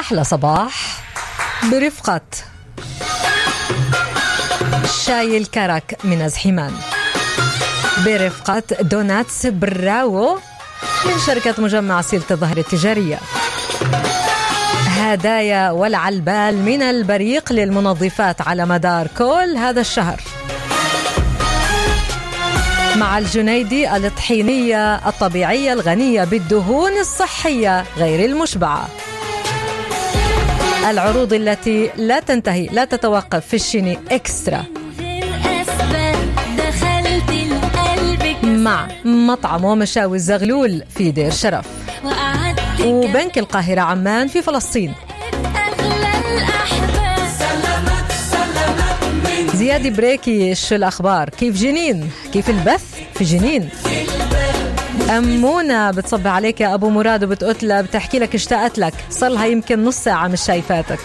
أحلى صباح برفقة شاي الكرك من أزحمان، برفقة دوناتس براوو من شركة مجمع سيلة الظهر التجارية، هدايا والعلبال من البريق للمنظفات على مدار كل هذا الشهر، مع الجنيدي الطحينية الطبيعية الغنية بالدهون الصحية غير المشبعة، العروض التي لا تنتهي لا تتوقف في الشيني إكسترا، مع مطعم ومشاوي الزغلول في دير شرف، وبنك القاهرة عمان في فلسطين. زيادة بريكي، شو الأخبار؟ كيف جنين؟ كيف البث في جنين؟ أمونة بتصبح عليك يا أبو مراد وبتقتلها بتحكي لك اشتقت لك، صلها يمكن نص ساعة مش شايفاتك.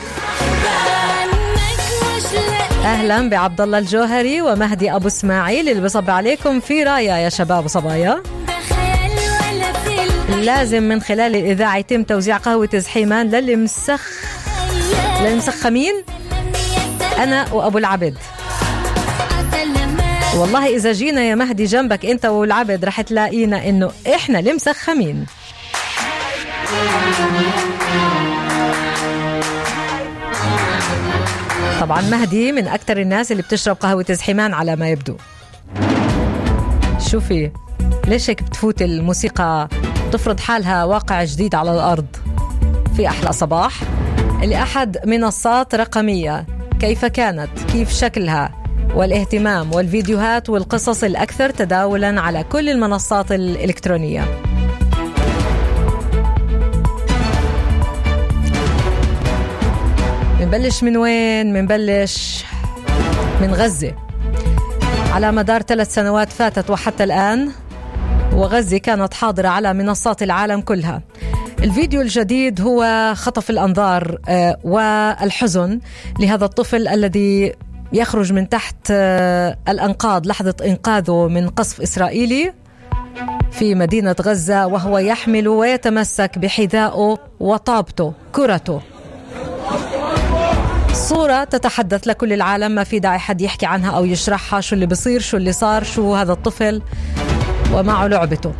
أهلا بعبد الله الجوهري ومهدي أبو اسماعيل اللي بصبح عليكم في راية يا شباب وصبايا. لازم من خلال الإذاعة يتم توزيع قهوة زحيمان للي مسخمين أنا وأبو العبد. والله إذا جينا يا مهدي جنبك أنت والعبد رح تلاقينا إنه إحنا اللي مسخمين. طبعا مهدي من أكتر الناس اللي بتشرب قهوة زحيمان على ما يبدو. شوفي ليش هيك بتفوت الموسيقى تفرض حالها واقع جديد على الأرض في أحلى صباح لأحد منصات رقمية. كيف كانت؟ كيف شكلها؟ والاهتمام والفيديوهات والقصص الأكثر تداولا على كل المنصات الإلكترونية. منبلش من وين؟ منبلش من غزة. على مدار 3 سنوات فاتت وحتى الآن وغزة كانت حاضرة على منصات العالم كلها. الفيديو الجديد هو خطف الأنظار والحزن لهذا الطفل الذي يخرج من تحت الأنقاض لحظة إنقاذه من قصف إسرائيلي في مدينة غزة، وهو يحمل ويتمسك بحذائه وطابته كرته. صورة تتحدث لكل العالم، ما في داعي حد يحكي عنها أو يشرحها، شو اللي بصير، شو اللي صار، شو هذا الطفل ومعه لعبته.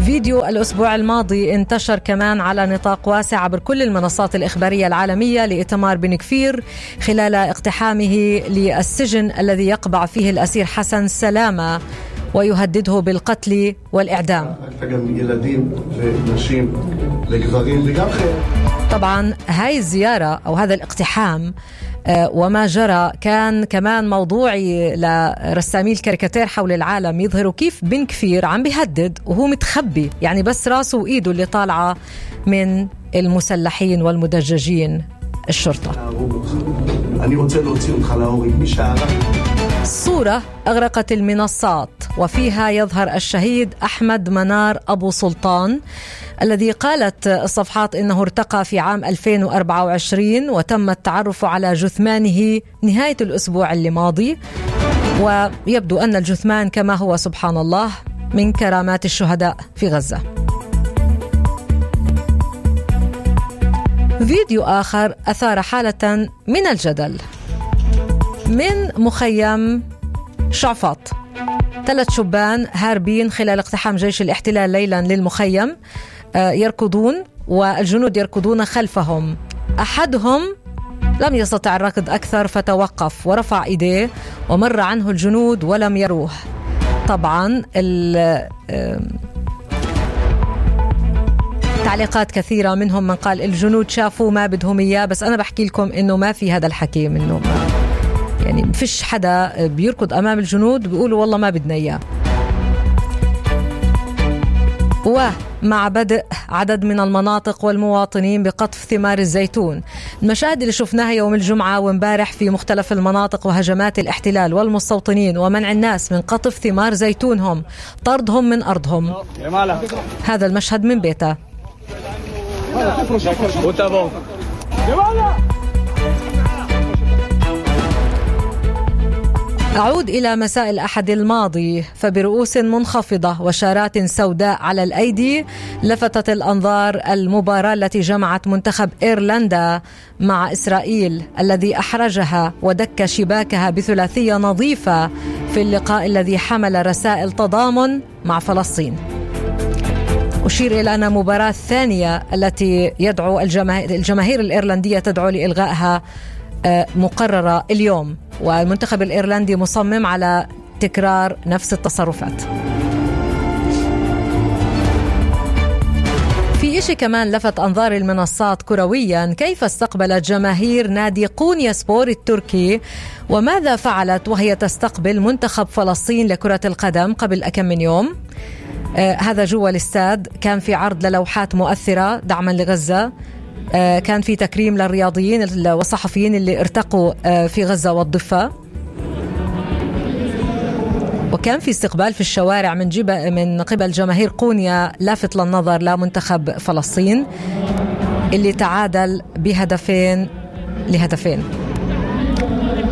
فيديو الأسبوع الماضي انتشر كمان على نطاق واسع عبر كل المنصات الإخبارية العالمية لإيتمار بن كفير خلال اقتحامه للسجن الذي يقبع فيه الأسير حسن سلامة ويهدده بالقتل والإعدام. طبعا هاي الزيارة أو هذا الاقتحام وما جرى كان كمان موضوعي لرسامي الكاريكاتير حول العالم، يظهروا كيف بن كفير عم بيهدد وهو متخبي، يعني بس راسه وإيده اللي طالعة من المسلحين والمدججين الشرطة. صورة أغرقت المنصات وفيها يظهر الشهيد أحمد منار أبو سلطان الذي قالت الصفحات إنه ارتقى في عام 2024 وتم التعرف على جثمانه نهاية الأسبوع الماضي، ويبدو أن الجثمان كما هو سبحان الله من كرامات الشهداء في غزة. فيديو آخر أثار حالة من الجدل من مخيم شعفاط. 3 شبان هاربين خلال اقتحام جيش الاحتلال ليلا للمخيم، يركضون والجنود يركضون خلفهم. أحدهم لم يستطع الركض أكثر فتوقف ورفع إيديه ومر عنه الجنود ولم يروه. طبعا تعليقات كثيرة، منهم من قال الجنود شافوا ما بدهم إياه، بس أنا بحكي لكم إنه ما في هذا الحكي منهم، يعني ما فيش حدا بيركض أمام الجنود بيقولوا والله ما بدنا إياه. ومع بدء عدد من المناطق والمواطنين بقطف ثمار الزيتون، المشاهد اللي شفناها يوم الجمعة ومبارح في مختلف المناطق وهجمات الاحتلال والمستوطنين ومنع الناس من قطف ثمار زيتونهم، طردهم من أرضهم، هذا المشهد من بيته. أعود إلى مساء الأحد الماضي، فبرؤوس منخفضة وشارات سوداء على الأيدي لفتت الأنظار المباراة التي جمعت منتخب إيرلندا مع إسرائيل الذي أحرجها ودك شباكها بثلاثية نظيفة في اللقاء الذي حمل رسائل تضامن مع فلسطين. أشير إلى أن المباراة الثانية التي يدعو الجماهير الإيرلندية تدعو لإلغائها مقررة اليوم، والمنتخب الإيرلندي مصمم على تكرار نفس التصرفات. في إشي كمان لفت أنظار المنصات كرويا، كيف استقبلت جماهير نادي قونياسبور التركي وماذا فعلت وهي تستقبل منتخب فلسطين لكرة القدم قبل أكم من يوم. هذا جوا الاستاد، كان في عرض للوحات مؤثرة دعما لغزة، كان في تكريم للرياضيين والصحفيين اللي ارتقوا في غزة والضفة، وكان في استقبال في الشوارع من قبل جماهير قونيا لافت للنظر لمنتخب فلسطين اللي تعادل بهدفين لهدفين.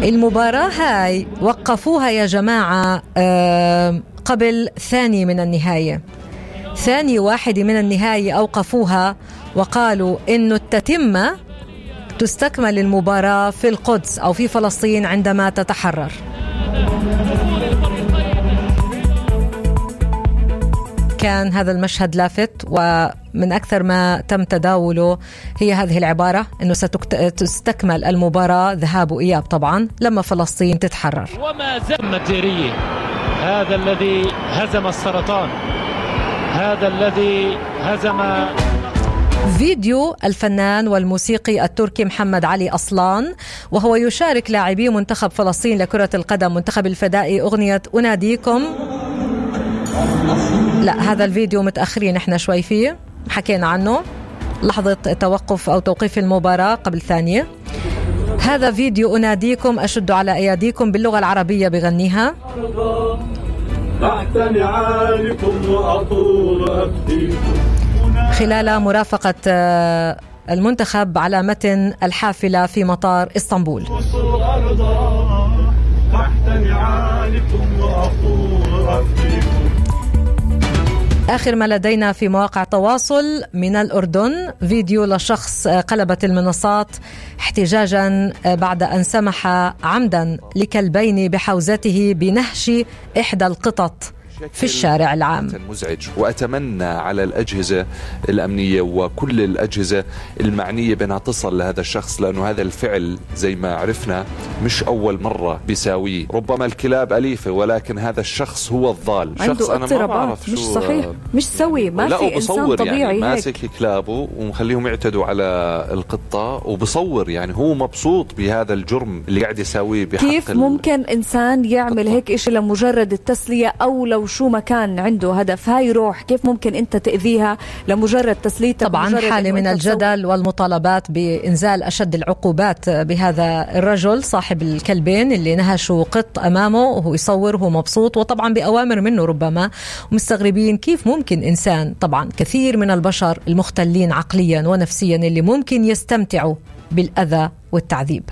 المباراة هاي وقفوها يا جماعة قبل ثاني من النهاية، ثاني واحد من النهاية أوقفوها وقالوا إنه التتمة تستكمل المباراة في القدس أو في فلسطين عندما تتحرر. كان هذا المشهد لافت، ومن أكثر ما تم تداوله هي هذه العبارة إنه ستستكمل المباراة ذهاب وإياب طبعا لما فلسطين تتحرر. وما زال الديرية، هذا الذي هزم السرطان، هذا الذي هزم. فيديو الفنان والموسيقي التركي محمد علي أصلان وهو يشارك لاعبي منتخب فلسطين لكرة القدم منتخب الفدائي أغنية أناديكم. لا، هذا الفيديو متأخرين احنا شوي فيه، حكينا عنه لحظة توقف أو توقيف المباراة قبل ثانية. هذا فيديو أناديكم أشد على أياديكم باللغة العربية بغنيها. خلال مرافقة المنتخب على متن الحافلة في مطار اسطنبول. آخر ما لدينا في مواقع التواصل من الأردن، فيديو لشخص قلبت المنصات احتجاجا بعد أن سمح عمدا لكلبين بحوزته بنهش إحدى القطط في الشارع العام. مزعج، وأتمنى على الأجهزة الأمنية وكل الأجهزة المعنية بأنها تصل لهذا الشخص، لأنه هذا الفعل زي ما عرفنا مش أول مرة بيساويه. ربما الكلاب أليفة ولكن هذا الشخص هو الضال. شخص أنا ما بعرف مش صحيح، مش سوي، ما في إنسان طبيعي يعني ماسك كلابه ومخليهم يعتدوا على القطة وبصور، يعني هو مبسوط بهذا الجرم اللي قاعد يساويه بحق. كيف ممكن إنسان يعمل هيك إشي لمجرد التسلية أو لو شو ما كان عنده هدف؟ هاي روح، كيف ممكن أنت تأذيها لمجرد تسليتك؟ طبعا حالة من الجدل والمطالبات بإنزال أشد العقوبات بهذا الرجل صاحب الكلبين اللي نهشوا قط أمامه وهو يصور وهو مبسوط، وطبعا بأوامر منه ربما، ومستغربين كيف ممكن إنسان، طبعا كثير من البشر المختلين عقليا ونفسيا اللي ممكن يستمتعوا بالأذى والتعذيب.